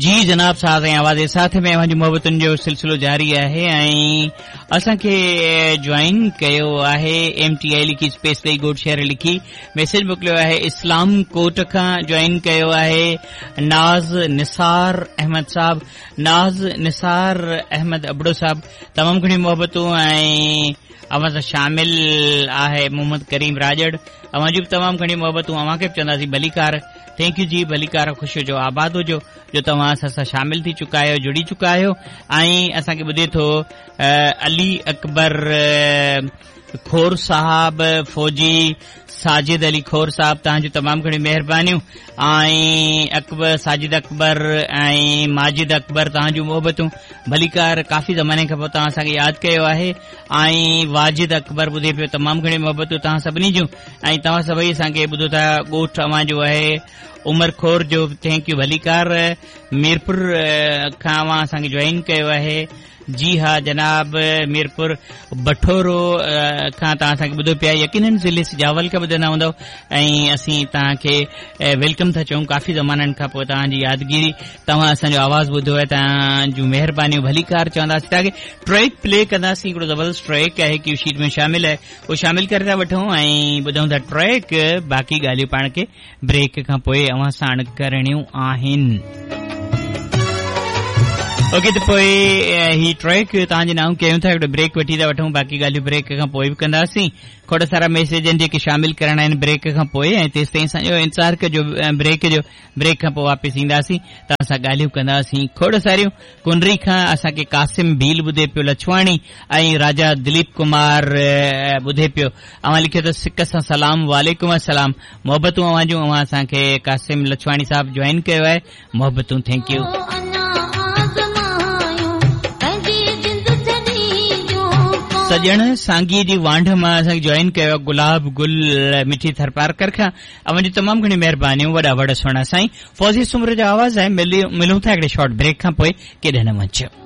جي جناب ساز ۽ آواز جي ساٿ ۾ اوهان جي محبتن جو سلسلو جاري آهي ۽ اسان کي جوائن ڪيو آهي ايم ٽي آئي لکي اسپيس ڏئي گهوٽ شهر لکي ميسيج موڪليو آهي اسلام ڪوٽ کان جوائن ڪيو آهي ناز نثار احمد صاحب ناز نثار احمد ابڙو صاحب تمام گهڻيون محبتون ۽ اوهان سان شامل آهي محمد ڪريم راڄڙ اوهان جون به تمام گهڻيون محبتون اوهان کي به چونداسين ڀليڪار thank you جي ڀليڪار خوش هجو آباد هجو جو توهان اسان سان شامل ٿي چڪا آهيو جڙي چڪا آهيو ۽ اسان کي ٻڌي ٿو علي اڪبر کور صاحب فوجي ساجد علي کور صاحب توهان جون تمام گهڻيون مهربانيون ۽ اڪبر ساجد اڪبر ۽ ماجد اڪبر توهان جون محبتون ڀليڪار ڪافي زماني کان پوء توهان اسان کي ياد ڪيو آهي ۽ واجد اڪبر ٻڌي پيو تمام گهڻيون محبتون توهان سڀني جون ۽ توهان سڀئي اسان کي ٻڌو ٿا ڳوٺ اوهان جو آهي عمر کور جو thank you ڀليڪار ميرپور کان اوهان اسان کي جوائن ڪيو آهي جي ها جناب ميرپور بٺورو کان توهان اسان کي ٻڌو پيا يقينن ضلعي سجاول کان ٻڌندا هوندؤ ۽ اسين توهان کي welcome ٿا چئون ڪافي زمانن کان پوء توهان جي يادگيري توهان اسان جو آواز ٻڌو آهي توهان جون مهربانيون ڀليڪار چونداسين توهان کي ٽريڪ پلي ڪنداسين هڪڙو زبردست ٽريڪ آهي ڪيو شيٽ ۾ شامل آهي اهو شامل ڪري ٿا وٺون ۽ ٻڌون ٿا ٽريڪ باقي ڳالهيون پاڻ کي بريڪ کان پوء اوهان ساڻ ڪرڻيون آهن. اوڪي ته پوء هي ٽريڪ توهان جي نانء ڪيون ٿا هڪڙو بريڪ وٺي ٿا وٺون باقي ڳالهيون بريڪ کان پوء به ڪنداسين کوڙ سارا ميسيج آهن جيڪي شامل ڪرڻا آهن بريڪ کان پوء ۽ تيستائين اسان جو انتظار ڪجو بريڪ جو بريڪ کان پوء واپس اينداسين توهان سان ڳالهيون ڪنداسين کوڙ ساريون ڪنري کان اسان کي قاسم ڀيل ٻڌي پيو لڇواڻي ۽ راجا دليپ ڪمار ٻڌي پيو اوهان لکيو ته سڪ سان سلام وعليڪم السلام محبتون اوهان جون اوهان اسان کي قاسم لڇواڻي صاحب جوائن ڪيو آهي محبتون thank you. سڄڻ سانگي جي وانڍ مان اسان کي جوائن ڪيو آهي گلاب گل مٺي ٿرپارڪر کان اوهان جون تمام گهڻيون مهربانيون وڏا وڙ سهڻا سائين فوزيه سومرو جو آواز آهي ملون ٿا هڪڙي شارٽ بريڪ کان پوء ڪيڏانهن نه وڃجو.